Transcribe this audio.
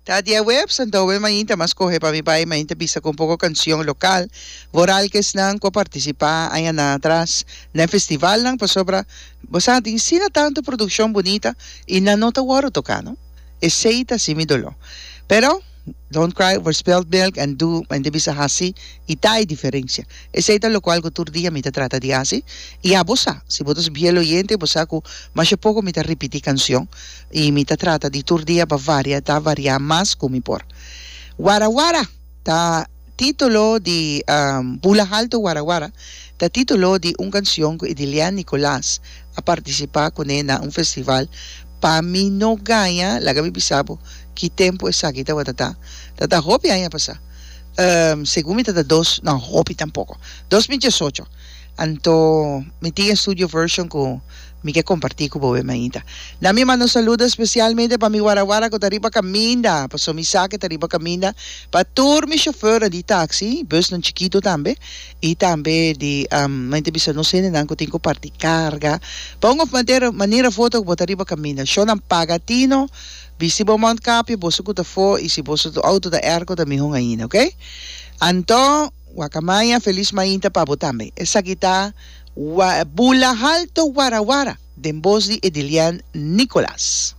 Ta diahuebs, anto awe mainta m'a scoge pa mi bai mainta bisa cu un poco cancion local, vooral cu esnan cu a participa añanan atras na e festivalnan, pasobra bo sa tin asina tanto produccion bunita y nan no ta worde toca no. Esey ta haci mi dolor. Pero. Don't cry over spilled milk and do men ta bisa haci y ta e diferencia. Esey ta locual cu tur dia mi ta trata di haci y abo sa, si bo ta biel oyente bo sa cu masha poco mi ta ripiti cancion y mi ta trata di tur dia pa varia ta varia mas cu mi por. Wara Wara ta titulo di Bula Halto Wara Wara ta titulo di un cancion cu Edilian Nicolaas a participa cune na un festival pa mi no gaña laga mi bisa bo Ki tempu esaki tabata ta? Ta ta hopi aña pasá. Segun mi ta ta dos, no hopi tampoko, 2018. Anto mi tin e studio version ku mi ke kompartí ku bo mainta. Na mi manda un saludo espesialmente pa mi warawara ku ta riba kaminda, pasobra mi sa ke ta riba kaminda, pa tur mi shofèrnan di taksi, busnan chikitu tambe, i tambe di mi ta bisa nos hendenan ku tin ku parti karga. Pa un òf manera òf otro ku bo ta riba kaminda, shownan paga tino. Bisti bo mondkapje, boso ku ta fo i si boso outo ta airco ta mihon ainda, ok? Anto, Wakamaya, felis mainta pa bo tambe. Esaki ta Bula Halto Warawara den bos di Edilian Nicolas.